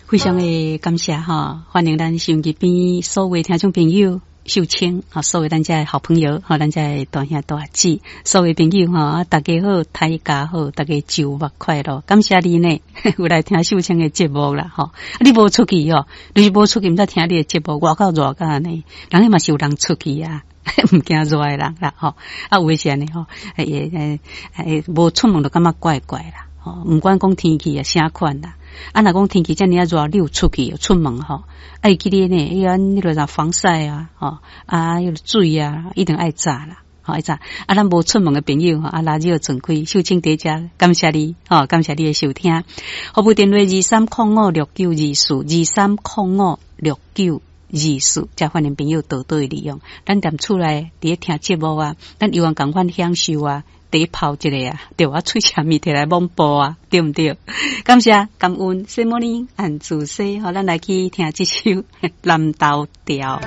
非常的感謝哈，歡迎咱收音機邊所有聽眾朋友。秀清，吼，所有咱遮的好朋友，吼，咱遮的大兄大姊，所有朋友吼，大家好，大家好，大家週末快樂，感謝你呢，有來聽秀清的節目啦，吼，你無出去哦，你是無出去，毋知聽你的節目，外口熱甲按呢，人彼嘛是有人出去啊，毋驚熱的人啦，吼，啊，有的是按呢吼，會會會無出門就感覺怪怪啦，吼，毋管講天氣啊，啥款啦。啊，若講天氣遮爾啊熱，你有出去出門吼，啊會記得呢，伊按彼个啥防曬啊，吼，啊，彼个水啊，一定愛紮啦，吼愛紮。啊，咱無出門的朋友吼，啊，垃圾轉開，秀清佇遮，感謝你，吼，感謝你的收聽。服務電話23056924，23056924，遮歡迎朋友多多利用。咱踮厝內佇咧聽節目啊，咱猶原仝款享受啊。第泡一个啊，對啊，喙澀物摕來摸布啊，對毋對？感謝感恩，什麼呢？按自細，予咱來去聽這首南投調。